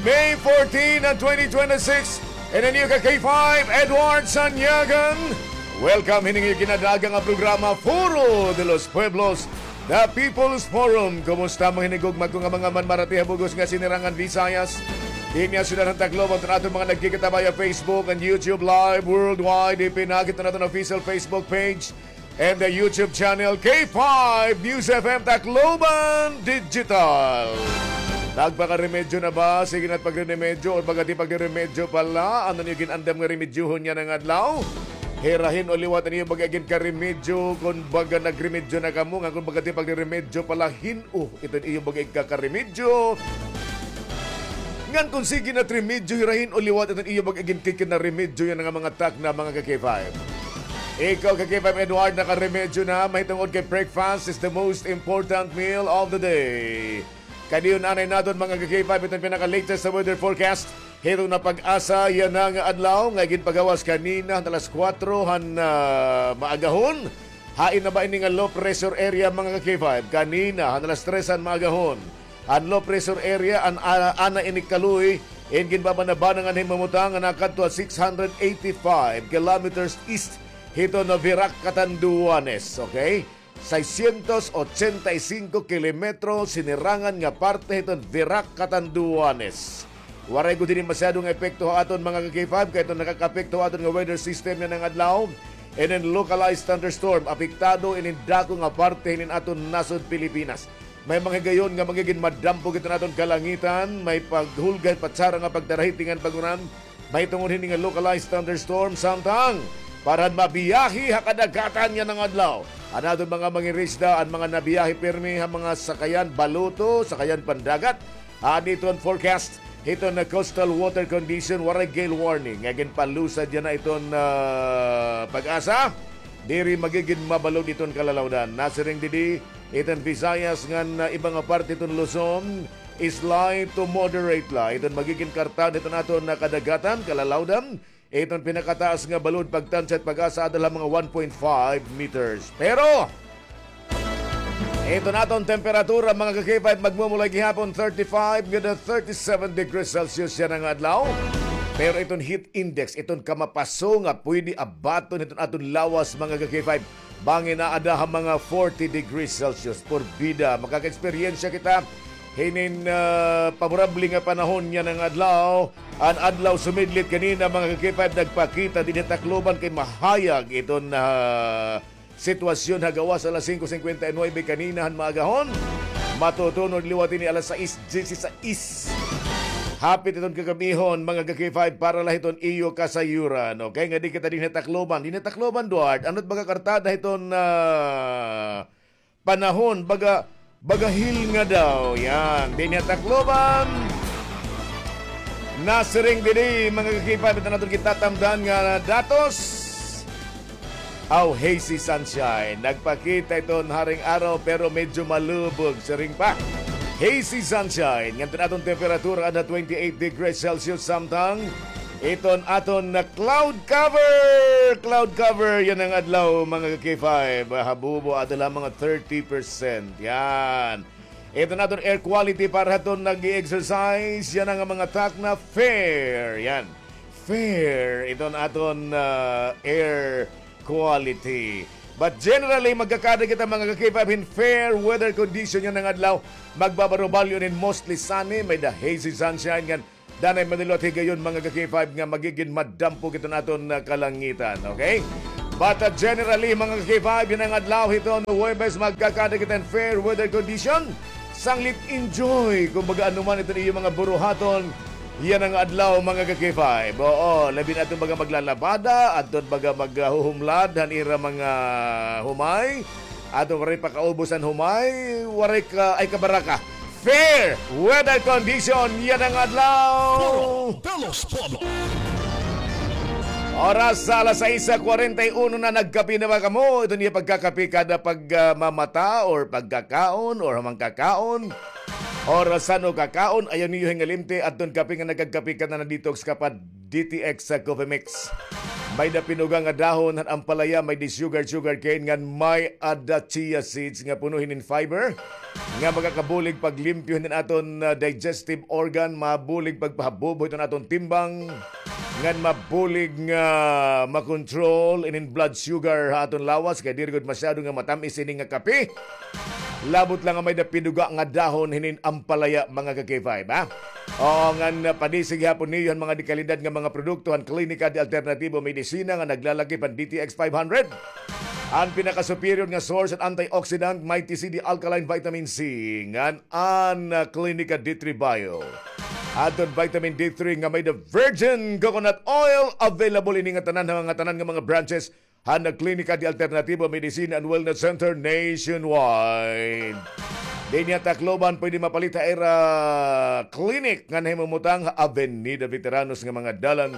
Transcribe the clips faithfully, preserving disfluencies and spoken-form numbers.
May fourteen and twenty twenty-six, in a new ka K five, Edward Sanyagan. Welcome, hining iyo ginadaaga nga programa, Foro de los Pueblos, The People's Forum. Kumusta, mga hinigugma ko nga mga manmarati ha bug-os nga sinirangan Visayas? Dinhi ha syudad han Tacloban, an aton mga nagkikita via Facebook and YouTube Live worldwide. Ipinakita naton official Facebook page and the YouTube channel, K five News F M Tacloban Digital. Nagpakaremedyo na ba? Sige na't pagreremedyo, or baga ti pagreremedyo pa la? Ano an iyo gin-andam nga remedyohon yana nga adlaw? Hirahin o liwat an iyo baga ginkaremedyo, kon baga nagremedyo na kamo, ngan kon baga ti pagreremedyo pa la, hin-o iton iyo baga igkakaremedyo? Ngan kon sige na't remedyo, hirahin o liwat iton iyo baga ginkikinaremedyo yana nga mga takna, mga ka-K five. Ikaw, ka-K five Edward, nakaremedyo na, mahitungod kay breakfast is the most important meal of the day. Kadiyon anay naton, mga ka-K five, iton pinaka-latest sa weather forecast hiton na PAGASA yana nga adlaw, nga ginpagawas kanina han alas kuwatro han, ah, maagahon. Hain na ba ini nga low pressure area, mga ka-K five? Kanina han alas tres han maagahon, an low pressure area, an, ah, ana ini kaluoy, in ginbabanabanan ngan himumutang nga nakadto ha six hundred eighty-five kilometers east hiton Virac, Catanduanes, okay? Seiscientos ochenta y cinco kilometro sinirangan nga parte hiton Virac, Catanduanes. Waray gud hini masyado nga epekto ha aton, mga ka-K five, kay iton nakakaapekto ha aton nga weather system yana nga adlaw, inin localized thunderstorm, apektado inin dako nga parte hinin aton nasod Pilipinas. May mga higayon nga magigin madampo iton aton kalangitan, may paghulga hin patsara nga pagtarahiti ngan pag-uran, mahitungod hini nga localized thunderstorm, samtang para han mabiyahe ha kadagatan yana nga adlaw, an aton mga mangingisda, an mga nabiyahe pirmi ha mga sakayan baluto, sakayan pandagat, adi iton forecast hiton coastal water condition, waray gale warning nga ginpalusad yana iton, ah, PAGASA. Diri magigin mabalod iton kalalawdan. Nasiring didi iton Visayas ngan, ah, iba nga parte iton Luzon, slight to moderate la iton magigin kartaan hiton aton nga kadagatan, kalalawdan. Iton pinakataas nga balod pagtansya hit PAGASA adto la ha mga one point five meters. Pero iton aton temperatura, mga ka-K five, magmumulay gihapon thirty-five ngada thirty-seven degrees Celsius yana nga adlaw. Pero iton heat index, iton kamapaso nga pwede abaton hiton aton lawas, mga ka-K five, bangin aada ha mga forty degrees Celsius. Porbida, makakaeksperyensya kita hinin, ah, paborable nga panahon yana nga adlaw. An adlaw sumidlit kanina, mga ka-K five, nagpakita dinhi ha Tacloban kay mahayag iton, ah, sitwasyon ha gawas alas singko singkwenta y nuwebe kanina han maagahon. Matutunod liwat ini alas sais dieciséis. Hapit iton kagab-ihon, mga ka-K five, para la hiton iyo kasayuran. Okay, ngadi kita dinhi ha Tacloban. Dinhi ha Tacloban, Duarte, ano it baga kartada hiton, ah, panahon, baga, baga hilnga daw. Yan, dinhi ha Tacloban. Nasiring didi, mga ka-K five, iton aton gitatamdan nga datos. Aw, hazy sunshine. Nagpakita iton haring araw, pero medyo malubog, siring pa. Hazy sunshine. Ngan iton aton temperatura ada twenty-eight degrees Celsius, samtang iton aton nga cloud cover. Cloud cover yana nga adlaw, mga ka-K five. Habubo, ada la mga thirty percent. Yan. Iton aton air quality para hiton nag-e-exercise. Yana nga mga takna, fair. Yan. Fair. Iton aton, ah, air quality. But generally, magkakada kita, mga ka-K five, hin fair weather condition yana nga adlaw. Magbabarubalyo hin mostly sunny, may-ada hazy sunshine, ngan danay man liwat higayon, mga ka-K five, nga magigin madampo iton aton, ah, kalangitan, okay? But, ah, generally, mga ka-K five, yana nga adlaw hiton Huwebes, magkakada kita hin fair weather condition. Sanglit enjoy, kumbaga, ano man iton iyo mga buruhaton yana nga adlaw, mga ka-K five. Oo, labi na adton baga maglalabada, adton baga maghuhumlad han ira mga humay, adton waray pa kaubos an humay, waray ka, ay kabaraka. Fair weather condition yana nga adlaw. Foro de los Pueblos. Oras sa alas sais kwarenta y uno na, nagkape na ba kamo? Iton iyo pagkakape kada pag, ah, mamata or pagkakaon or humang kakaon or san-o kakaon, ayaw niyo hingalimti adton kape nga nagkakape ka na, na-detox ka pa, D T X sa Coffee Mix. May-ada pinuga nga dahon han ampalaya, may-ada sugar, sugar cane, ngan may-ada chia seeds nga puno hinin fiber nga makakabulig paglimpyo hinin aton, ah, digestive organ, mabulig pagpahabubo hiton aton timbang, ngan mabulig nga makontrol inin blood sugar ha aton lawas, kay diri gud masyado nga matam-is ini nga kape. Labot la nga may-ada pinuga nga dahon hinin ampalaya, mga ka-K five, ha? Oo, ngan, ah, padisi gihapon niyo han mga dekalidad nga mga produkto han Klinika de Alternatibo Medisina nga naglalakip han D T X five hundred. An pinaka-superior nga source han antioxidant, Mighty C D Alkaline Vitamin C, ngan an, ah, Klinika D three Bio. Adton Vitamin D three nga may-ada virgin coconut oil, available ini nga tanan ha mga tanan nga mga branches han Klinika de Alternativo Medicine and Wellness Center nationwide. Dinhi ha Tacloban, pwede mapalit ha ira clinic nga nahimumutang ha Avenida Veteranos nga mga dalan.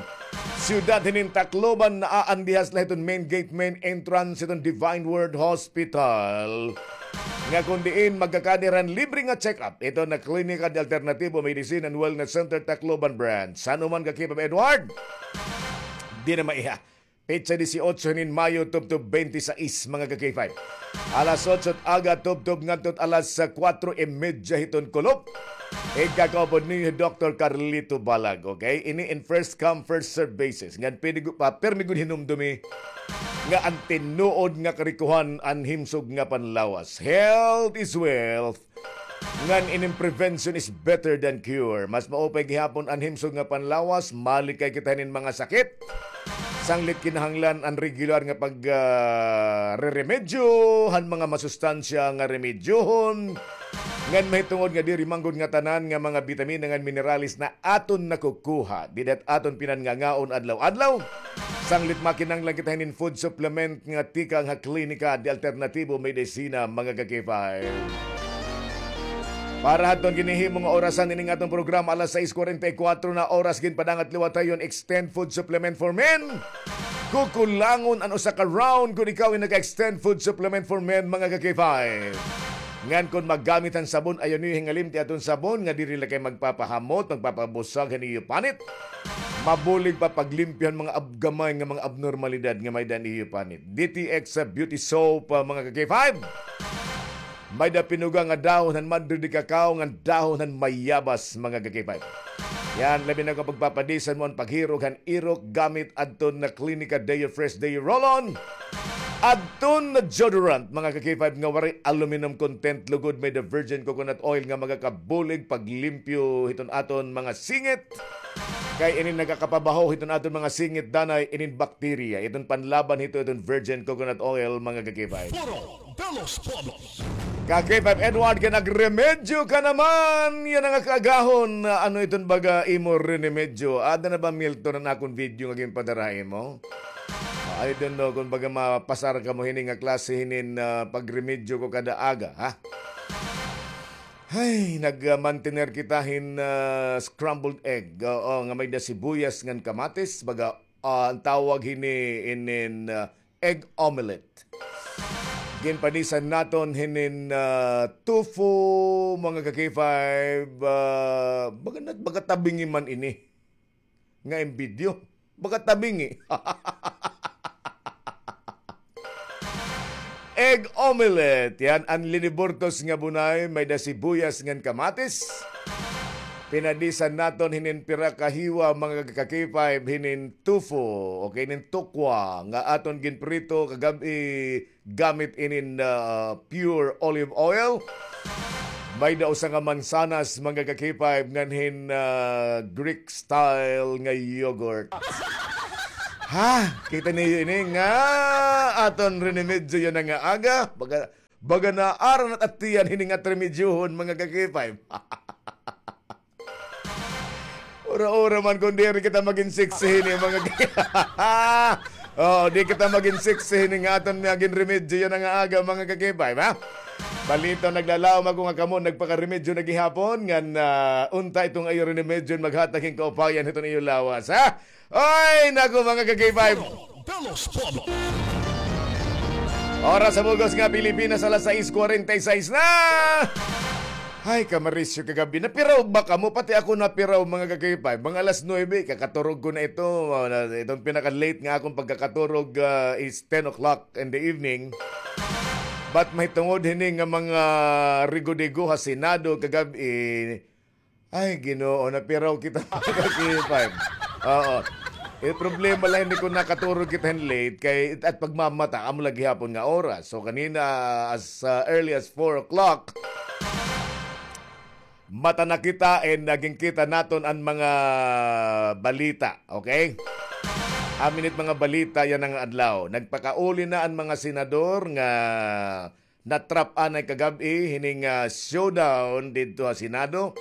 Siyudad hinin Tacloban, naa an dihas la hiton main gate, main entrance hiton Divine Word Hospital. Nga kon diin magkakaada hira hin libre nga check-up hiton Klinika de Alternativo Medicine and Wellness Center Tacloban Branch. San-o man ka-K five Edward? Di na maiha. Petsa disiotso hinin Mayo, tubtob bente sais, mga ka-K five. Alas otso hit aga, tubtob ngadto hit alas, ah, kuwatro y medya hiton kulop. Igkakaupod niyo hi Doktor Carlito Balag, okay? Ini in first come, first serve basis. Ngan pwede gu-, pa, pirmi gud hinumdomi nga an tinuod nga karikohan an himsog nga panlawas. Health is wealth. Ngan inin prevention is better than cure. Mas maupay gihapon an himsog nga panlawas, malikay kita hinin mga sakit. Sanglit kinahanglan an regular nga pag, ah, reremedyo han mga masustansya nga remedyohon. Ngan mahitungod nga diri man gud nga tanan nga mga bitamina ngan minerales na aton nakukuha dida hit aton pinanngangaon adlaw-adlaw. Sanglit makinahanglan kita hinin food supplement nga tikang ha Klinika de Alternativo Medicina, mga ka-K five. Para hadton ginhihimo nga orasan ining aton programa, alas sais kuwarenta y kuwatro na oras, ginpadangat liwat ha iyo an Extend Food Supplement for Men. Kukulangon an usa ka round kon ikaw ay naka-Extend Food Supplement for Men, mga ka-K five. Ngan kon maggamit han sabon, ayaw niyo hingalimti aton sabon nga diri la kay magpapahamot, magpapabusag han iyo panit. Mabulig pa paglimpyo han mga ab-, gamay nga mga abnormalidad nga may-ada han iyo panit. D T X Beauty Soap, ah, mga ka-K five. May-ada pinuga nga dahon han madre de cacao ngan dahon han mayabas, mga ka-K five. Yan, labi na kon pagpapadisan mo an paghirog han irok gamit adton Klinika Deo Fresh Deo Roll-On. Adton deodorant, mga ka-K five, nga waray aluminum content, lugod may-ada virgin coconut oil nga magakabulig paglimpyo hiton aton mga singit. Kay inin nagakapabaho hiton aton mga singit danay inin bakterya. Iton panlaban hito iton virgin coconut oil, mga ka-K five. Foro de los Pueblos. Ka-K five Edward, kay nagremedyo ka naman. Yana nga kaagahon, ano iton baga imo rinemedyo? Ada na ba, Milton, an akon video nga ginpadara ha imo? I don't know kon baga mapasar kamo hini nga klase hinin, ah, pagremedyo ko kada aga, ha? Hay, nag, ah, mantener kita hin, ah, scrambled egg. Oo, nga may-ada sibuyas ngan kamatis. Baga, ah, an tawag hini inin, ah, egg omelette. Ginpadisan naton hinin, ah, tofu, mga ka-K five. Ah, baga na, baga tabingi man ini. Nga im video. Baga tabingi. Egg omelette. Yan an liniburtos nga bunay, may-ada sibuyas ngan kamatis. Pinadisan naton hinin pira ka hiwa, mga ka-K five, hinin tofu, okay, hinin tokwa, nga aton ginprito kagab-i gamit inin, ah, pure olive oil. May-ada usa nga mansanas, mga ka-K five, ngan hin, ah, Greek style nga yogurt. Ha? Kita niyo ini nga aton rinemedyo yana nga aga. Baga, baga naara na it at tiyan hini nga remedyohon, mga ka-K five. Ura-ura man kon diri kita magin sexy hini, mga ka-, oo, di kita magin sexy hini nga aton nga ginremedyo yana nga aga, mga ka-K five, ha? Palito, naglalaom ako nga kamo nagpakaremedyo na gihapon, ngan, ah, unta iton iyo rinemedyo maghatag hin kaupayan hiton iyo lawas, ha? Ay, naku, mga ka-K five. De los Pueblos. Oras sa bug-os nga Pilipinas, alas sais kuwarenta y sais na. Hay, kamarisyo kagab-i. Napiraw ba kamo? Pati ako napiraw, mga ka-K five. Mga alas nuebe, kakaturog ko na ito. Ah, na, itong pinaka-late nga akong pagkakaturog, ah, is ten o'clock in the evening. But mahitungod hini nga mga rigo-digo ha Senado kagab-i, ay, Ginoo, napiraw kita, mga ka-K five. Oo. Eh, problema la ini kon nakaturog kita hin late kay it-, at pagmamata, amo la gihapon nga oras. So, kanina, as, ah, early as four o'clock, mata na kita and naging kita naton an mga balita, okay? Amin it mga balita yana nga adlaw. Nagpakauli na an mga senador nga na-trap anay kagab-i hining, ah, showdown didto ha Senado.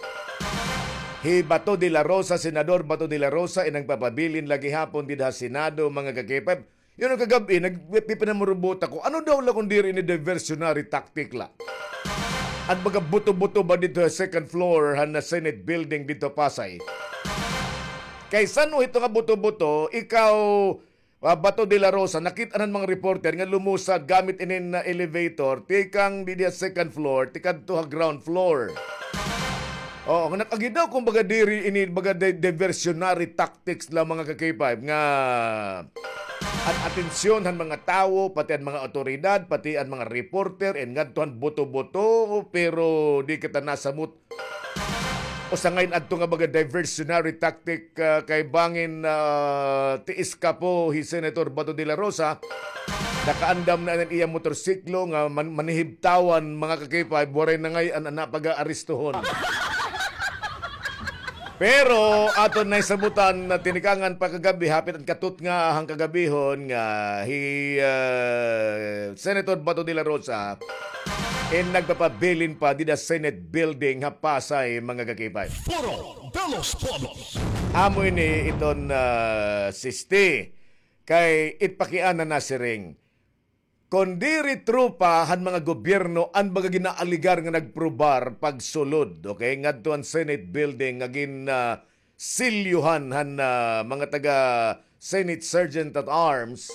Hi Bato de la Rosa, Senador Bato de la Rosa, in nagpapabilin la gihapon dida ha Senado, mga ka-K five. Yana kagab-i, nagpipinamurubot ako. Ano daw la kon diri ini diversionary tactic la? An baga buto-buto ba didto ha second floor han Senate building didto ha Pasay? Kay san-o hito nga buto-buto, ikaw, ah, Bato de la Rosa, nakit-an han mga reporter nga lumusad gamit inin, ah, elevator, tikang didi ha second floor, tikadto ha ground floor. Oo, nga nag-agi daw kon baga diri ini, baga di-, diversionary tactics la, mga ka-K five, nga an atensyon han mga tawo, pati an mga awtoridad, pati an mga reporter, and ngadto han buto-buto, pero di kita nasamot usa ngay-an adto nga baga diversionary tactic, ah, kay bangin, ah, tiis kapo hi Senator Bato de la Rosa, nakaandam na an iya motorsiklo nga man-, manhihibtawan, mga ka-K five, waray na ngay-an an napag-aaristohon. Pero aton nahisabutan na tinikangan pa kagab-i, hapit an katutnga han kagab-ihon nga hi, ah, Senator Bato de la Rosa in nagpapabilin pa dida Senate Building ha Pasay, mga ka-K five. Foro de los Pueblos. Amo ini iton, ah, siste. Kay it pakiana nasiring, kon diri tropa han mga gobyerno an baga ginaaligar nga nagprobar pagsulod, okay, ngadto han Senate Building nga gin, ah, silyuhan han, ah, mga taga Senate Sergeant at Arms.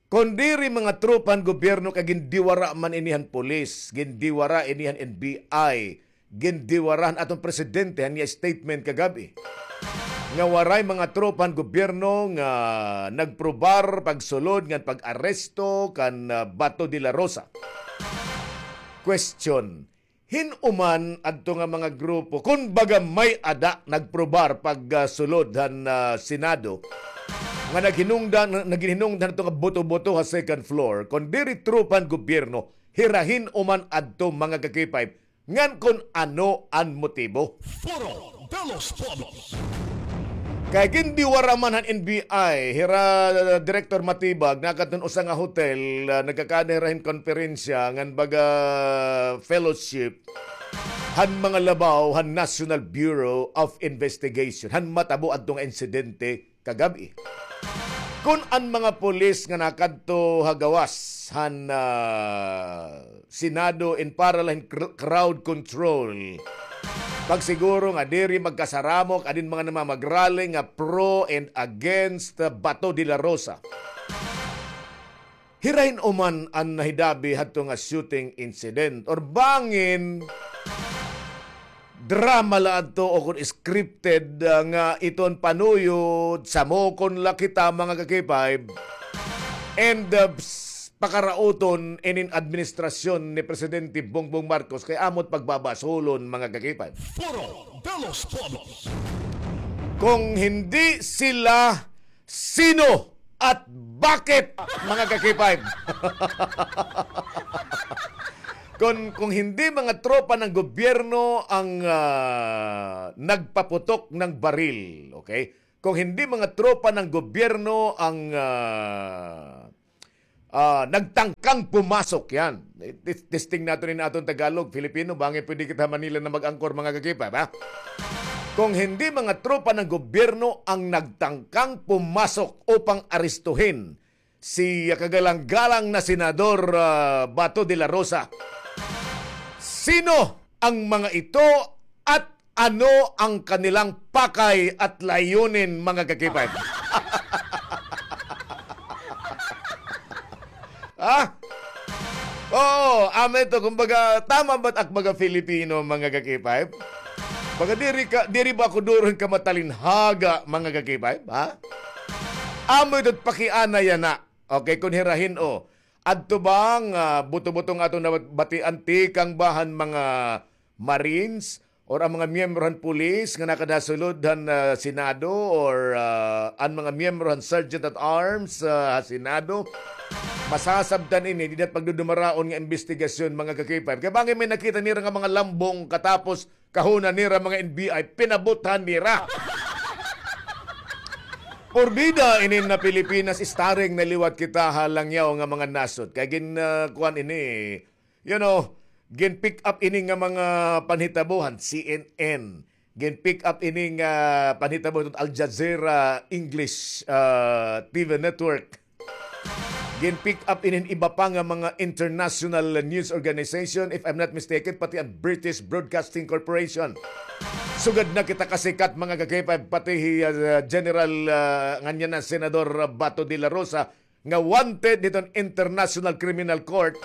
Kon diri mga tropa han gobyerno kay gindiwara man ini han pulis, gindiwara ini han N B I, gindiwara han aton presidente han iya statement kagab-i nga waray mga tropa han gobyerno nga nagprobar pagsulod ngan pag-aresto kan, ah, Bato de la Rosa. Question, hin-o man adto nga mga grupo, kon baga may-ada nagprobar pag, ah, sulod han, ah, Senado, nga naghinungdan, naghinungdan adto nga buto-buto ha second floor, kon diri tropa han gobyerno, hira hin-o man adto, mga ka-K five, ngan kon ano an motibo. Foro de los Pueblos. Kay gindiwara man han N B I, hira Director Matibag, nakadto han usa nga hotel, ah, nagkakaada hira hin konperensya ngan baga fellowship han mga labaw han National Bureau of Investigation han matabo adto nga insidente kagab-i. Kon an mga pulis nga nakadto ha gawas han, ah, Senado in para la hin cr-, crowd control, pagsiguro nga diri magkasaramok adin mga namamagrally nga pro and against, ah, Bato de la Rosa. Hira hin-o man an nahidabi hadto nga shooting incident or bangin drama la adto o kon scripted, ah, nga iton panuyod, samokon la kita, mga ka-K five, and, ah, s-, pakarauton inin administrasyon ni Presidente Bongbong Marcos kay amo it pagbabasulon, mga ka-K five. Foro de los Pueblos. Kung hindi sila, sino at bakit, mga ka-K five? Kung, kung hindi mga tropa ng gobyerno ang, ah, nagpaputok ng baril, okay? Kung hindi mga tropa ng gobyerno ang, ah, ah, nagtangkang pumasok, yan. Tis-, testing natin in aton Tagalog, Filipino, bangin pwede kita Manila na mag-angkor, mga ka-K five, ha? Kung hindi mga tropa ng gobyerno ang nagtangkang pumasok upang aristuhin si kagalang-galang na Senador, ah, Bato de la Rosa, sino ang mga ito at ano ang kanilang pakay at layunin, mga ka-K five? Ha? Oo, O, amo ito, kumbaga, tama ba't ak baga Filipino, mga ka-K five? Baga diri ka, diri ba ako duron ka matalinhaga, mga ka-K five, ha? Amo ito't pakiana yana. Okay, kun hirahin, o. Adto bang, ah, buto-buto nga aton nabatian tikang ba han mga Marines or an mga miyembro han pulis nga nakadasulod han, ah, Senado or, ah, an mga miyembro han Sergeant at Arms, ah, ha Senado, masasabtan ini dida ha pagdudumaraon nga imbestigasyon, mga ka-K five. Kay bangin may nakita nira nga mga lambong katapos kahuna nira mga N B I, pinabuthan nira. Porbida ini na Pilipinas, starring na liwat kita ha langyaw nga mga nasod. Kay gin, ah, kuan ini, you know, gin-pick up ini nga mga panhitabo han C N N. Gin-pick up ini nga panhitabo han Al Jazeera English, ah, T V network. Gin-pick up ini han iba pa nga mga international news organization, if I'm not mistaken, pati an British Broadcasting Corporation. Sugad na kita kasikat, mga ka-K five, pati hi, ah, General, ah, nganyan na Senador Bato de la Rosa, nga wanted hiton International Criminal Court,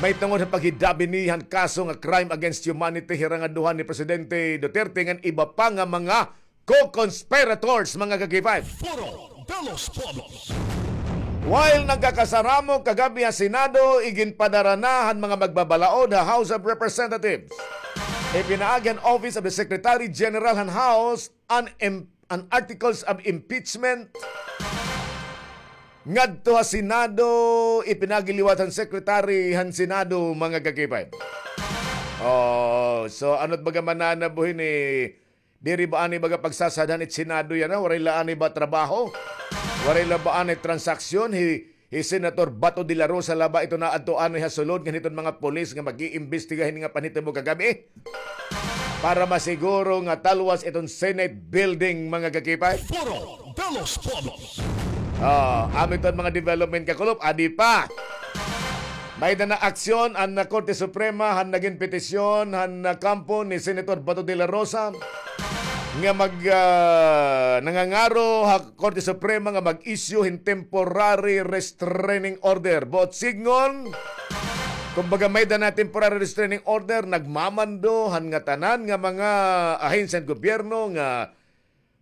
mahitungod ha paghidabi niya han kaso nga crime against humanity hira nga duha ni Presidente Duterte ngan iba pa nga mga co-conspirators, mga ka-K five. Foro de los Pueblos. While nagkakasaramok kagab-i ha Senado, iginpadara na han mga magbabalaod ha House of Representatives. Ipinaagi han Office of the Secretary General han House an im-, an articles of impeachment ngadto ha Senado, ipinaagi liwat han Secretary han Senado, mga ka-K five. Oh, so ano't baga mananabo hini? Diri ba anay baga pagsasadhan it Senado yana? Waray la anay ba trabaho? Waray la ba anay transaksyon? Hi, hi Senator Bato de la Rosa la ba ito naadto anay ha sulod ngan hiton mga pulis nga mag-iimbestiga hini nga panhitabo kagab-i? Para masiguro nga talwas iton Senate building, mga ka-K five. Foro de los Pueblos. Ah, amo iton mga development, kakulop, adi pa. May-ada na aksyon an, ah, Korte Suprema han nagin petisyon han, ah, kampo ni Senator Bato de la Rosa nga mag, ah, nangangaro ha Korte Suprema nga mag-issue hin temporary restraining order. Buot sidngon, kumbaga, may-ada na temporary restraining order, nagmamando han ngatanan nga mga ahensya han gobyerno nga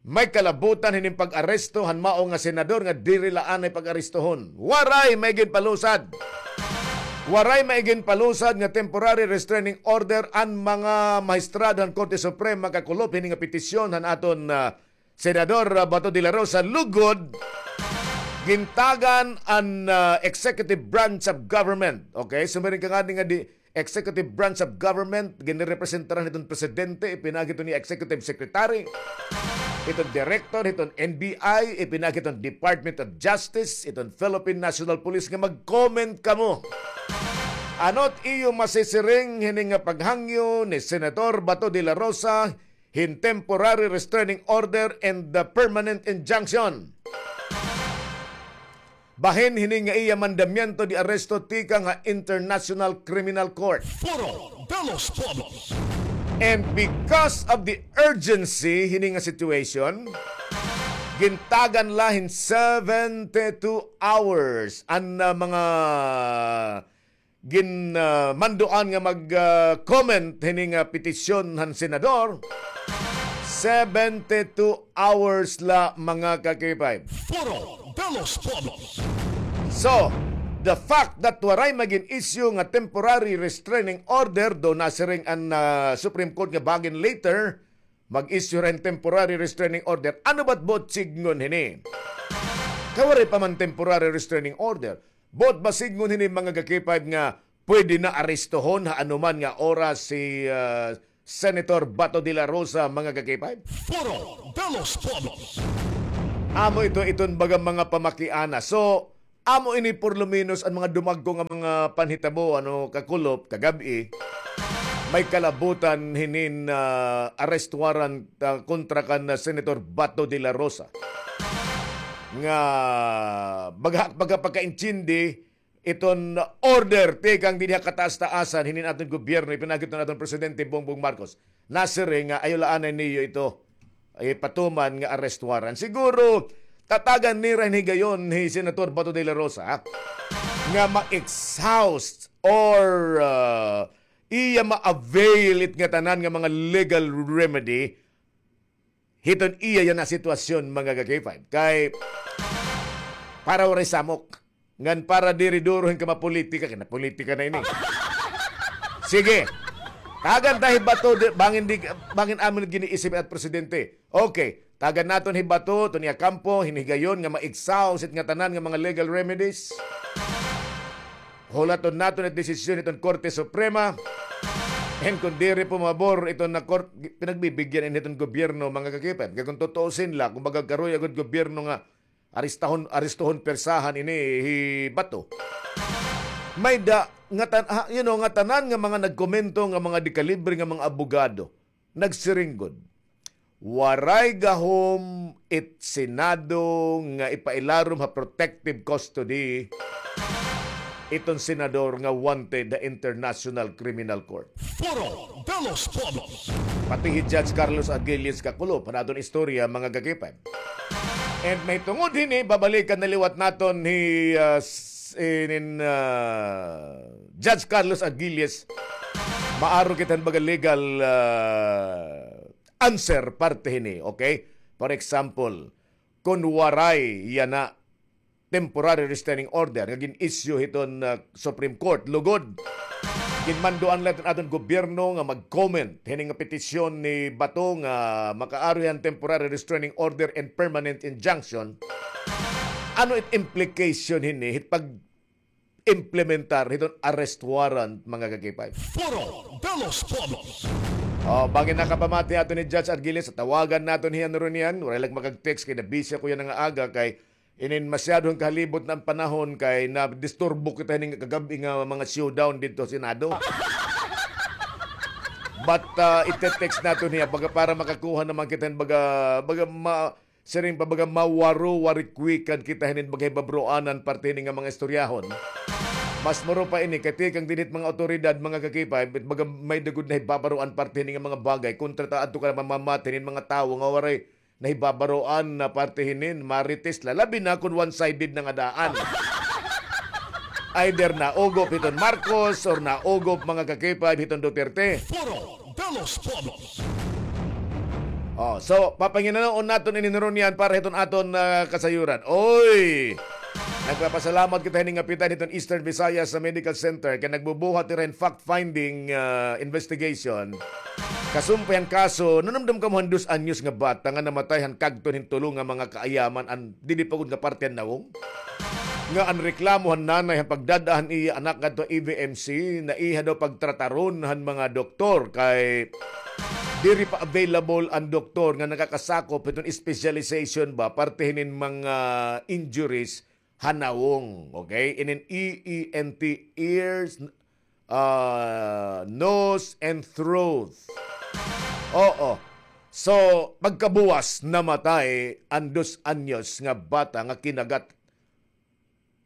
may kalabutan hinin pag-aresto han mao nga senador nga diri la anay pag-arestohon. Waray may ginpalusad. Waray may ginpalusad nga temporary restraining order an mga mahistrado han Korte Suprema kakulop hini nga petisyon han aton, ah, Senador, ah, Bato de la Rosa, lugod gintagan an, ah, executive branch of government. Okay, sumiring ka ngani nga di, executive branch of government, ginrepresentaran hiton presidente, ipinaagi hiton niya executive secretary, hiton director, hiton N B I, ipinaagi hiton Department of Justice, hiton Philippine National Police nga mag-comment kamo. Ano't iyo masisiring hini nga paghangyo ni Senator Bato de la Rosa hin temporary restraining order and the permanent injunction? Bahin hini nga iya mandamiento de aresto tikang ha International Criminal Court. Foro de los Pueblos. And because of the urgency hini nga situation, gintagan la hin seventy-two hours an, ah, mga gin, ah, mandoan nga mag, ah, comment hini nga petisyon han senador, seventy-two hours la, mga ka-K five. Foro de los Pueblos. So, the fact that waray magin-issue nga temporary restraining order, daw nasiring an, ah, Supreme Court nga bangin later, mag-issue hin temporary restraining order. Ano ba't buot sidngon hini? Kay waray pa man temporary restraining order. Buot ba sidngon hini, mga ka-K five, nga pwede na arestohon ha anuman nga oras si, ah, Senator Bato de la Rosa, mga ka-K five? Foro de los Pueblos. Amo ito, iton baga mga pamakiana. So, amo ini por lo menos an mga dumagko nga mga panhitabo, ano, kakulop, kagab-i. May kalabutan hinin, ah, arrest warrant, ah, kontra kan, ah, Senator Bato de la Rosa. Nga baga, baga pagkaintindi, iton order tikang dinhi ha kataas-taasan hinin aton gobyerno, ipinaagi hiton aton Presidente Bongbong Marcos. Nasiring nga ayaw la anay niyo ito ipatuman nga arrest warrant. Siguro, tatagan nira hin higayon hi Senator Bato de la Rosa, ha? Nga ma-exhaust or, ah, iya ma-avail it ngatanan nga mga legal remedy hiton iya yana sitwasyon, mga ka-K five. Kay para waray samok. Ngan para diri duro hin kamapolitika, kay napolitika na ini. Sige. Tagan ta hi Bato, di, bangin di, bangin amin giniisip at presidente. Okay. Tagan naton hi Bato, iton iya kampo, hin higayon nga ma-exhaust it ngatanan nga mga legal remedies. Hulaton naton it desisyon hiton Korte Suprema. And kung diri pumabor iton na court, pinagbibigyan ini hiton gobyerno, mga ka-K five. Kay kung tutuusin la, kumbaga karuy agud gobyerno nga arestahon, arestohon, persahan ini hi Bato. May da, ngatan-, ha, you know, ngatanan nga mga nagkomento nga mga dekalibre nga mga abogado, nagsiring gud, waray gahom it Senado nga ipailarom ha protective custody iton senador nga wanted ha International Criminal Court. Foro de los Pueblos. Pati hi Judge Carlos Aguiles kakulop han aton istorya, mga ka-K five. And mahitungod hini, babalikan na liwat naton hi, ah, s-, inin, ah, Judge Carlos Aguiles. Maaro kita hin baga legal, ah, answer parte hini, okay? For example, kun waray yana temporary restraining order nga gin-issue hiton, ah, Supreme Court, lugod ginmanduan la iton aton gobyerno nga mag-comment hini nga petisyon ni Bato nga makaaro hiya hin temporary restraining order and permanent injunction. Ano it implication hini hit pag-implementar hiton arrest warrant, mga ka-K five? Foro de los Pueblos. Oh, bangin nakapamati aton hi Judge Aguiles, tawagan naton hiya nirunian. Waray la makag-text kay nabisi ako yana nga aga kay inin masyado hin kahalibot na an panahon kay nadisturbo kita hini nga kagab-i nga mga showdown didto ha Senado. But, ah, ite-text naton hiya baga para makakuha naman kita hin baga, baga ma-, siring pa baga mawaro-warikwikan kita hinin baga hibabaro-anan parte hini nga mga istoryahon. Mas maro pa ini kay tikang dinhi it mga awtoridad, mga ka-K five, it baga may-ada gud nahibabaroan parte hini nga mga bagay kontra ta adto ka na mamamati hinin mga tawo nga waray nahibabaroan na parte hinin, marites la. Labi na kun one-sided na nga daan. Either naugop hiton Marcos or naugop, mga ka-K five, hiton Duterte. Foro de los Pueblos. Oh, so, papanginanoon naton ini nirunian para hiton aton, ah, kasayuran. Oy! Nagpapasalamat kita hini nga kapitan hiton Eastern Visayas Medical Center kay nagbubuhat hira hin fact-finding, ah, investigation. Kasumpay han kaso, nanumdom kamo han dos anyos nga bata nga namatay han kagton hin tulo nga mga kaayaman, an didi pa gud nga parte han nawong? Nga an reklamo han nanay han pagdad-a han iya anak ngadto ha E V M C, naiha daw pagtrataron han mga doktor kay diri pa available an doktor nga nakakasakop hiton specialization ba parte hinin mga injuries ha nawong, okay? Inin E E N T, ears, ah, nose, and throat. Oo. So, pagkabuwas, namatay an dos anyos nga bata nga kinagat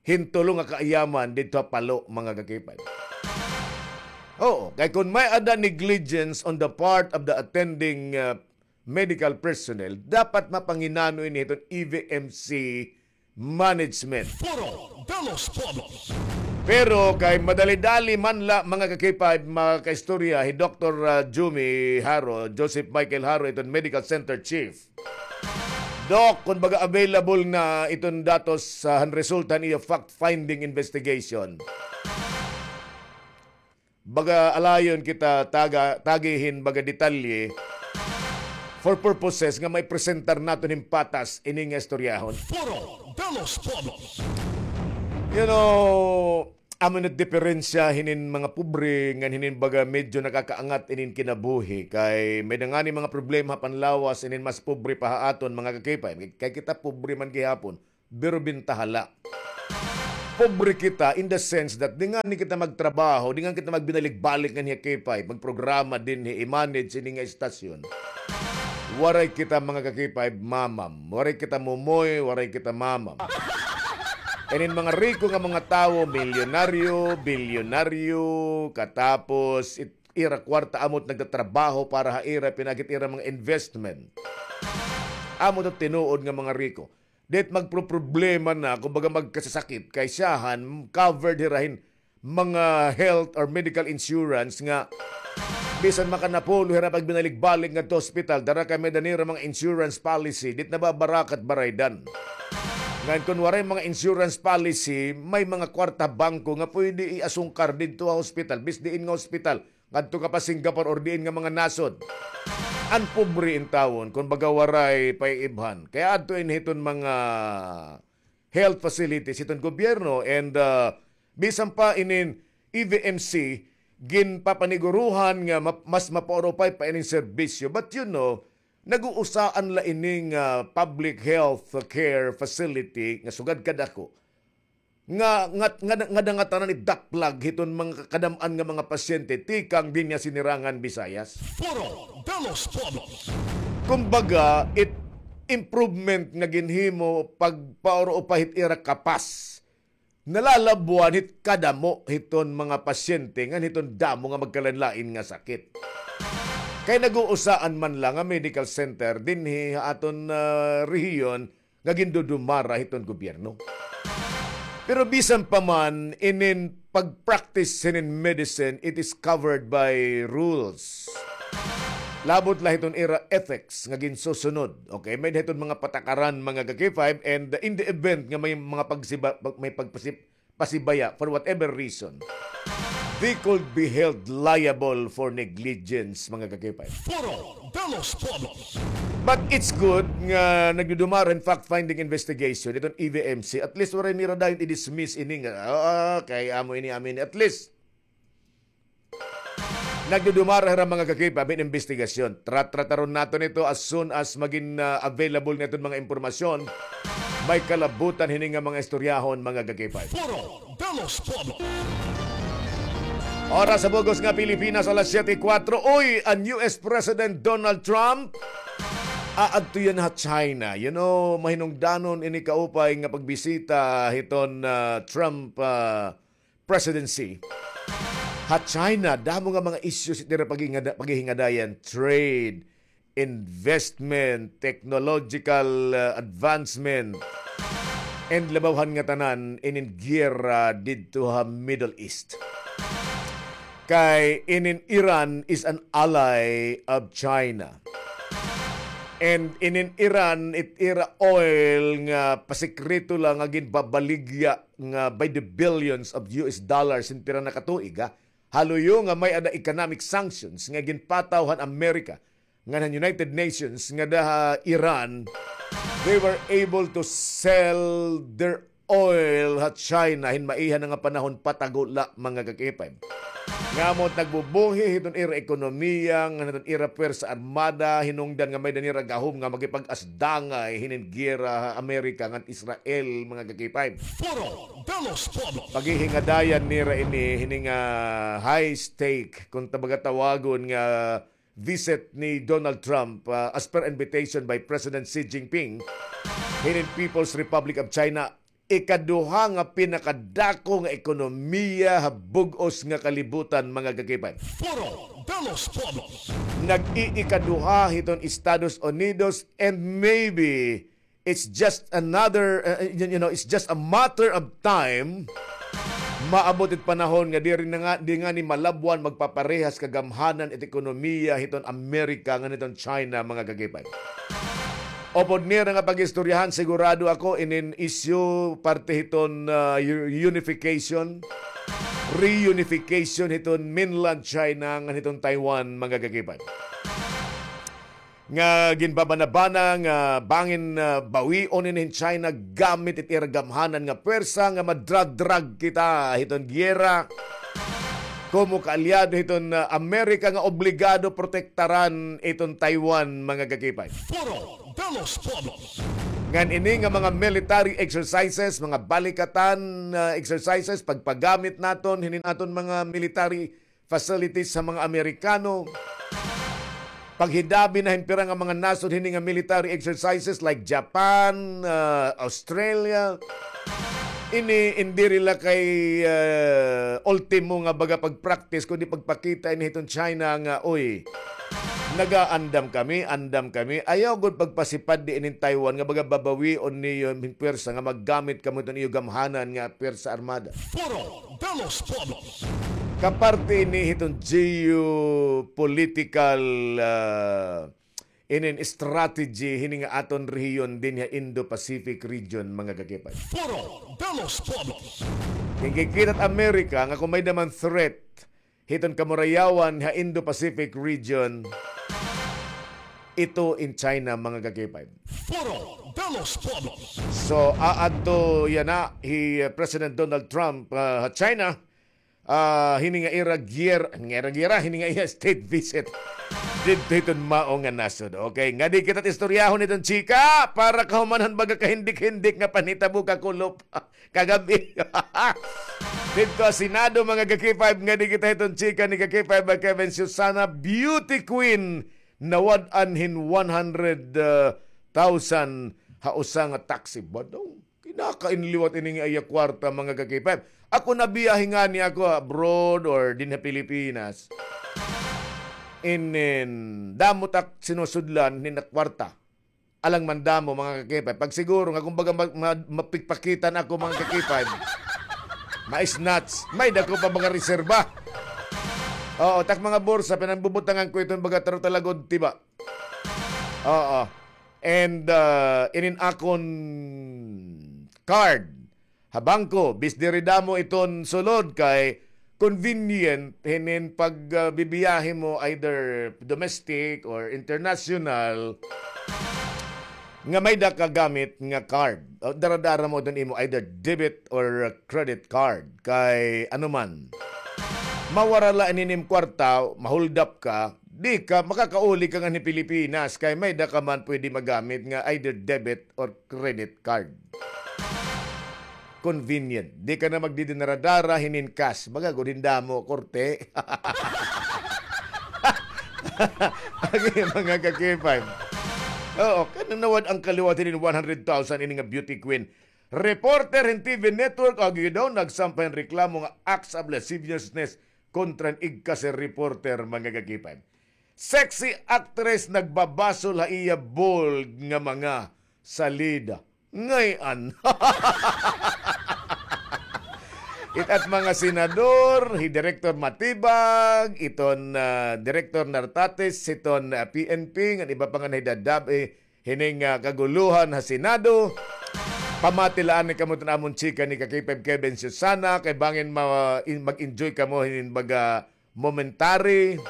hin tulo nga kaayaman didto ha Palo, mga ka-K five. Oo, kay kun may-ada negligence on the part of the attending, uh, medical personnel, dapat mapanginano ini hiton E V M C management. Foro de los Pueblos. Pero kay madali-dali man la, mga ka-K five, makaistorya hi Doktor, ah, Jumi Haro, Joseph Michael Haro, iton Medical Center Chief. Doc, kun baga available na iton datos, ah, han resulta han iyo fact-finding investigation. Baga alayon kita taga, tagi hin baga detalye for purposes nga maipresentar naton hin patas ini nga istoryahon. Foro de los Pueblos. You know, amo it diferensya hinin mga pobre ngan hinin baga medyo nakakaangat inin kinabuhi. Kay may-ada ngani mga problema ha panlawas inin mas pobre pa ha aton, mga ka-K five. Kay kita pobre man gihapon. Pero bintaha la. Pobre kita in the sense that di ngani kita magtrabaho, di ngani kita magbinalik-balik nganhi ha K five, magprograma dinhi, i-manage ini nga istasyon. Waray kita, mga ka-K five, mamam. Waray kita mumoy, waray kita mamam. Inin mga riko nga mga tawo, milyonaryo, bilyonaryo, katapos it-, ira kwarta amo it nagtatrabaho para ha ira, pinagi it ira mga investment. Amo it tinuod nga mga riko. Di it magproproblema na, kumbaga magkasasakit, kay siyahan, covered hira hin mga health or medical insurance nga bisan makanapulo hira pagbinalik-balik ngadto hospital, dara kay may-ada nira mga insurance policy, di it nababarakat baraydan. Ngan kon waray mga insurance policy, may mga kwarta bangko nga pwede iasungkar didto ha hospital, bis diin nga hospital, ngadto ka pa Singapore or diin nga mga nasod. An pobre intawon, kon baga waray paiibhan. Kay adto ini hiton mga health facilities hiton gobyerno and, ah, bisan pa inin E V M C, ginpapaniguruhan nga ma-, mas mapaurupay pa ining serbisyo. But you know, nag-uusaan la ining, ah, public health care facility nga sugad kadako nga, nga, nga, nga ngatanan idaplag hiton mga kadam-an nga mga pasyente tikang dinhi ha Sinirangan Visayas. Foro de los Pueblos. Kumbaga, it improvement nga ginhimo pagpaurupay hit ira kapas, nalalabwan hit kadamo hiton mga pasyente ngan hiton damo nga magkalain-lain nga sakit. Kay nag-uusaan man la nga medical center dinhi ha aton, ah, rehiyon nga gindudumara hiton gobyerno. Pero bisan pa man, inin pag-practice hinin medicine, it is covered by rules. Labot la hiton ira ethics nga ginsusunod. Okay, may hiton mga patakaran, mga ka-K five, and in the event nga may mga pagsiba-, may pagpasib-, pasibaya for whatever reason, they could be held liable for negligence, mga ka-K five. Foro de los Pueblos. But it's good nga nagdudumara hin fact-finding investigation iton E V M C. At least waray nira dayon i-dismiss ini nga, "Ah, kay amo ini, amo ini." At least nagdudumara hira, mga ka-K five, hin investigasyon. Tra-, trataron naton ito as soon as magin, ah, available nga iton mga impormasyon. May kalabutan hini nga mga istoryahon, mga ka-K five. Foro de los Pueblos. Oras sa bug-os nga Pilipinas, alas siyete y kuwatro. Uy, an U S President Donald Trump aadto yana ha China. You know, mahinungdanon ini kaupay nga pagbisita hiton, ah, Trump, ah, presidency. Ha China, damo nga mga issues it ira paghingada-, paghihingadayan, trade, investment, technological, uh, advancement, and labaw han ngatanan, inin giyera didto ha Middle East. Kay inin Iran is an ally of China. And inin Iran, it ira oil nga pasikreto la nga ginbabaligya nga by the billions of U S dollars hin pira na ka tuig, ha? Haluyo nga may-ada economic sanctions nga ginpataw han Amerika ngan han United Nations ngada ha Iran, they were able to sell their oil ha China hin maiha na nga panahon patago la, mga ka-K five. Nga amo it nagbubuhi hiton ira ekonomiya, ngan hiton ira pwersa armada, hinungdan nga may-ada nira gahom nga makipag-asdangay hinin giyera ha Amerika ngan Israel, mga ka-K five. Foro de los Pueblos. Paghihingadayan nira ini, hini nga high stake, kon tabaga tawagon nga visit ni Donald Trump, ah, as per invitation by President Xi Jinping, hinin People's Republic of China, ikaduha nga pinakadako nga ekonomiya ha bug-os nga kalibutan, mga ka-K five. Foro de los Pueblos. Nag-iikaduha hiton Estados Unidos, and maybe it's just another, uh, you, you know, it's just a matter of time. Maabot it panahon nga diri na nga, di ngani malabwan, magpaparehas kagamhanan it ekonomiya hiton Amerika ngan hiton China, mga ka-K five. Upod nira nga pag-istoryahan, sigurado ako, inin issue parte hiton, uh, u-, unification, reunification hiton mainland China ngan hiton Taiwan, mga ka-K five. Nga ginbabanabana nga bangin, ah, bawion ini hin China gamit it ira gamhanan nga pwersa nga madradrag kita hiton giyera komo kaalyado hiton, ah, Amerika nga obligado protektaran iton Taiwan, mga ka-K five. Foro de los Pueblos. Ngan ini nga mga military exercises, mga balikatan, ah, exercises, pagpagamit naton hinin aton mga military facilities sa mga Amerikano. Paghidabi na hin pira nga mga nasod hini nga military exercises like Japan, ah, Australia. Ini, in diri la kay, ah, ultimo nga baga pag-practice, kundi pagpakita ini hiton China nga, uy, Nagaandam kami, andam kami. Ayaw gud pagpasipad di inin Taiwan nga baga babawion niyo hin pwersa nga maggamit kamo iton iyo gamhanan nga pwersa armada. Foro de los Pueblos. Kaparte ini hiton geopolitical, ah, inin strategy hini nga aton rehiyon dinhi ha Indo-Pacific region, mga kakipay. Foro de los Pueblos. Ginkikitat Amerika nga kon may-ada man threat hiton kamurayawan ha Indo-Pacific region, ito in China, mga kakipay. Foro de los Pueblos. So, aadto yana hi, uh, President Donald Trump, uh, ha China, ah, hini nga ira giyer-, nga ira giyera, hini nga iya state visit didto hiton mao nga nasod. Okay, ngadi kita istoryahon iton chika para kahuman han baga kahindik-hindik nga panhitabo kakulop kagab-i. Didto ha Senado, mga ka-K five, ngadi kita hiton chika ni ka-K five, Kevin Susana, beauty queen, nawad-an hin one hundred thousand ha usa nga taxi. Badong. Kinakain liwat ini nga iya kwarta, mga ka-K five. Ako nabiyahe ngani ako abroad or dinhi ha Pilipinas. Inin, damo tak sinusudlan hinin kwarta. Alang man damo, mga ka-K five. Pag siguro nga, kumbaga, ma-, ma-, mapikpakitan ako, mga ka-K five. Ma-snatch. May dako pa mga reserba. Oo, tak mga bursa, pinangbubutangan ko iton baga taro talagod, tiba. Oo. And, ah, inin akon card ha bangko, bis diri damo iton sulod kay convenient hinin pag, ah, bibiyahe mo either domestic or international nga may-ada ka gamit nga card. O, dara-dara mo iton imo either debit or credit card. Kay ano man, mawara la inin im kwarta, ma-hold up ka, di ka makakauli ka nganhi Pilipinas kay may-ada ka man pwede magamit nga either debit or credit card. Convenient. Di ka na magdidinara-dara hinin cash. Baga gud hin damo, korte. Agi, mga ka-K five. Oo, kay nawad-an ka liwat hinin one hundred thousand ini nga beauty queen. Reporter hin T V network, agi daw, nagsampay hin reklamo nga acts of lasciviousness kontra hin igkasi reporter, mga ka-K five. Sexy actress nagbabasol ha iya bold nga mga salida. Ngay-an. It-at mga senador, hi Director Matibag, iton, ah, Director Nartates, hiton, ah, P N P, ngan iba pa nga nahidadab-i, eh, hining, ah, kaguluhan ha Senado. Pamati la anay kamo iton amon chika ni ka-K five Kevin Susana, kay bangin ma-, in-, mag-enjoy kamo hinin baga momentary.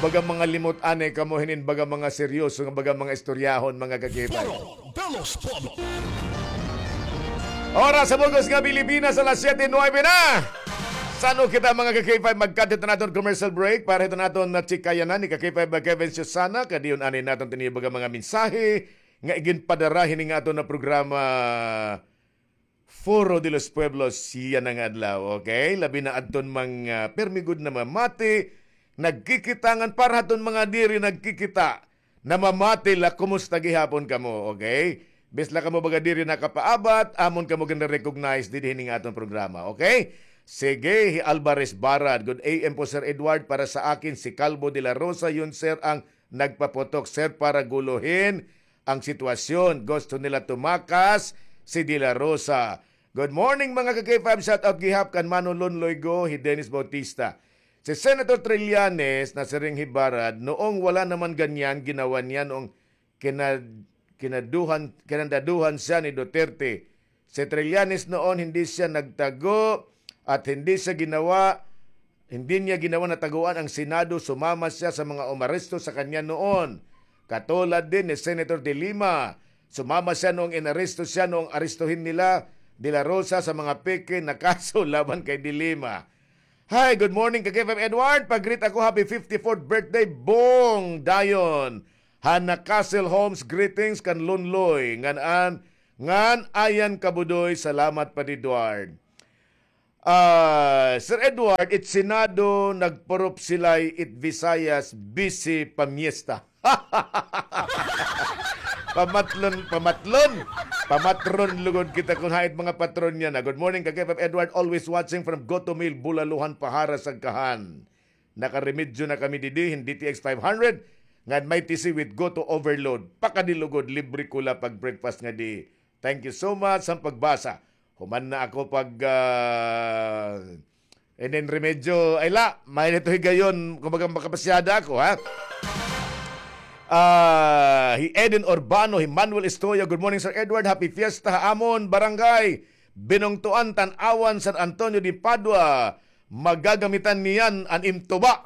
Baga mga limot anay kamo hinin baga mga seryoso nga baga mga istoryahon, mga ka-K five. Foro de los Pueblos. Oras sa bug-os nga Pilipinas, alas siyete nuwebe na. San-o kita, mga ka-K five, magkadto naton commercial break para hiton aton na chikayanan ni ka-K five Kevin Susana, kay diyon anay naton tinibaga mga mensahe nga iginpadara hini nga aton na programa Foro de los Pueblos yana nga adlaw, okay? Labi na adton mga pirmi gud namamati, nagkikita ngan para haton mga diri nagkikita, namamati la, kumusta gihapon kamo, okay? Bis la kamo baga diri nakapaabat, amon kamo gin-recognize didi hini nga aton programa, okay? Sige, hi Alvarez Barad, "Good A M po, Sir Edward. Para sa akin, si Calvo de la Rosa, yun, sir, ang nagpaputok, sir, para guluhin ang sitwasyon. Gusto nila tumakas si De La Rosa." Good morning, mga ka-K five. Shout out gihap kan Mano Lonloy Go, hi Dennis Bautista. Si Senator Trillanes, nasiring hi Barad, noong wala naman ganyan, ginawa niya noong kina-, kinaduhan, kinandaduhan siya ni Duterte. Si Trillanes noon, hindi siya nagtago at hindi siya ginawa, hindi niya ginawa na taguan ang Senado. Sumama siya sa mga umaresto sa kanya noon. Katulad din ni Senator De Lima. Sumama siya noong inaresto siya, noong arestuhin nila De La Rosa sa mga peke na kaso laban kay De Lima. Hi, good morning, ka-K five Edward. Pag-greet ako, happy fifty-fourth birthday, Bong Dayon. Hana Castle Homes, greetings kan Lonloy. Ngan an, ngan Ayan Kabudoy, salamat pa Edward. Ah, Sir Edward, it Senado, nagpurup silay it Visayas, busy pamiesta. Pamatlon, pamatlon. Pamatron lugod kita kon hain it mga patron niya na. Good morning, ka-K five Edward, always watching from Goto Mill, Bulaluhan, Pahara, Sagkahan. Nakaremedyo na kami didi hin D T X five hundred. Ngan may T C with Goto Overload. Pakadilugod, libre ko la pag-breakfast ngadi. Thank you so much sa pagbasa. Human na ako pag, ah, inin remedyo. Ay la, may nito higayon, kumbaga makapasyada ako, ha? Ah, hi Eden Urbano, hi Manuel Estoya, "Good morning, Sir Edward. Happy Fiesta ha amon barangay. Binungtuan, Tan-awan, San Antonio de Padua. Magagamitan niyan an im tuba."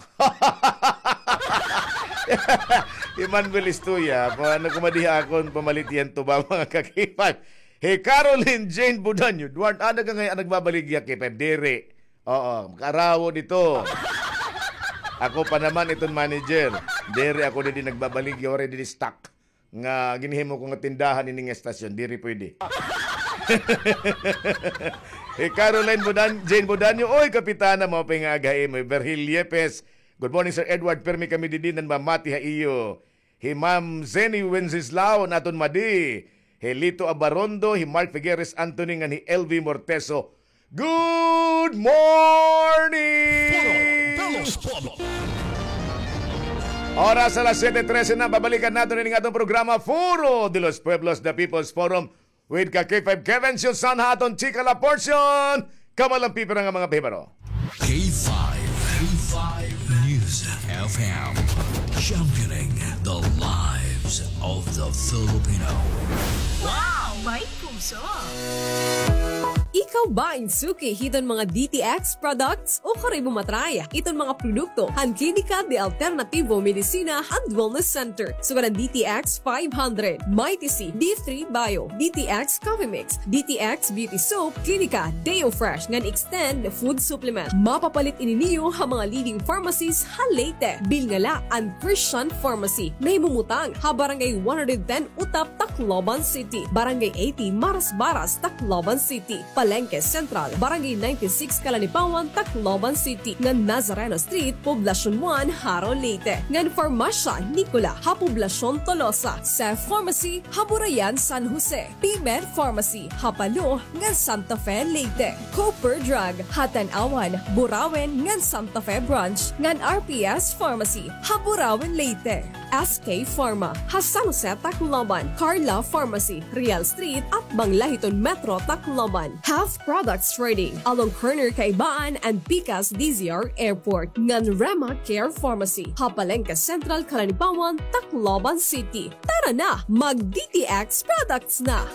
Hi Manuel Estoya, paano ko madiha akon pamalit iyan tuba, mga ka-K five? Hi Caroline Jane Budanyo, "Duward, ada ka ngay-an nagbabaligya, K five?" Diri. Oo, makaarawo dito. Ako pa naman iton manager. Diri ako didi nagbabaligya, waray didi stock nga ginhimo ko nga tindahan ini nga estasyon, diri pwede. Hi Caroline Budan-, Jane Budanyo, "Oy, Kapitana, maupay nga aga ha imo." Hi Virgil Yepes, "Good morning, Sir Edward. Pirmi kami didi nanmamati ha iyo." Hi Ma'am Zenny Wenceslao, an aton madi. Hi Lito Abarondo, hi Mark Figueres Anthony, ngan hi L V Morteso. Good morning! Foro de los Pueblos. Oras alas siyete trese na, babalikan naton ini nga aton programa, Foro de los Pueblos, the People's Forum, with ka K five Kevin Siosan ha aton chika la portion. Kamo la an pipira nga mga pahibaro. K five, K five News F M, championing the lives of the Filipino. Wow! May puso! Ikaw ba in suki hiton mga D T X products? Ukon imo matry iton mga produkto han Klinika de Alternativo Medicina and Wellness Center. Sugad an D T X five hundred, Mighty C, D three Bio, D T X Coffee Mix, D T X Beauty Soap, Klinika Deo Fresh ngan Extend Food Supplement. Mapapalit ini niyo ha mga leading pharmacies ha Leyte. Bilnga la an Christian Pharmacy, nahimumutang ha Barangay one hundred ten Utap, Tacloban City, Barangay eighty Marasbaras, Tacloban City, Palenque Central, Barangay ninety-six Kalanipawan, Tacloban City, ngan Nazareno Street, Poblacion one, Jaro, Leyte, ngan Farmasya Nicola ha Poblacion Tolosa, Seth Pharmacy ha Burayan, San Jose, Pimed Pharmacy ha Palo ngan Santa Fe, Leyte, Cooper Drug ha Tanauan, Burauen ngan Santa Fe Branch, ngan R P S Pharmacy ha Burauen, Leyte. S K Pharma ha San Jose, Tacloban, Carla Pharmacy, Real Street, atbang la hiton Metro Tacloban, Health Products Trading along corner Kaibaan and Pikas D Z R Airport, ngan Rema Care Pharmacy ha Palenque Central, Kalanipawan, Tacloban City. Tara na, mag D T X products na!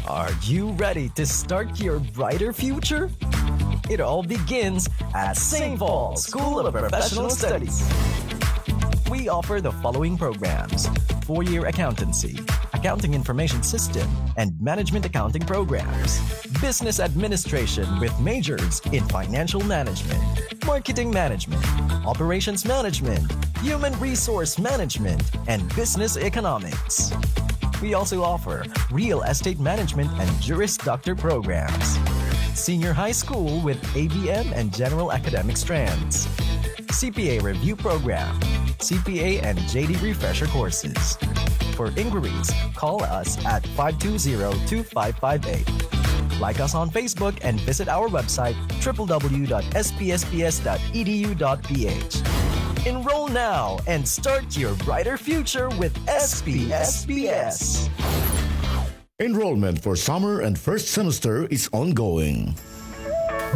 Are you ready to start your brighter future? It all begins at Saint Paul School of Professional Studies. We offer the following programs: four-year accountancy, accounting information system, and management accounting programs, business administration with majors in financial management, marketing management, operations management, human resource management, and business economics. We also offer real estate management and Juris Doctor programs, senior high school with A B M and general academic strands, C P A review program, C P A and J D refresher courses. For inquiries, call us at five two zero two five five eight. Like us on Facebook and visit our website, triple W dot S P S P S dot E D U dot P H. Enroll now and start your brighter future with S P S P S. Enrollment for summer and first semester is ongoing.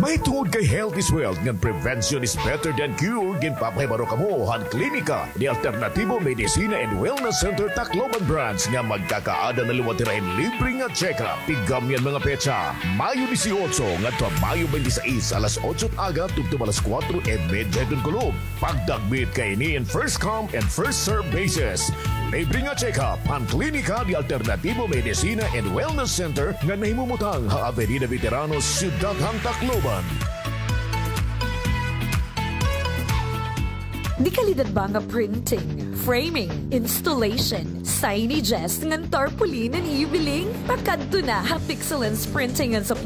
Mahitungod kay health is wealth ngan prevention is better than cure, ginpapahibaro kamo han Klinika de Alternativo Medicina and Wellness Center Tacloban Branch nga magkakaada na liwat hira hin libre nga check-up. Tigam niyan mga petsa, Mayo dieciocho ngadto ha Mayo twenty-six, alas otso it aga tubtob alas kuwatro y medya hiton kulop. Pagdagmit kaini in first come and first serve basis. Libre nga check-up han Klinika de Alternativo Medicina and Wellness Center nga nahimumutang ha Avenida Veteranos, Syudad han Tacloban. Dekalidad ba nga printing, framing, installation, signages, ngan tarpaulin an iyo biling? Pakadto na ha Pixelance Printing and Supply.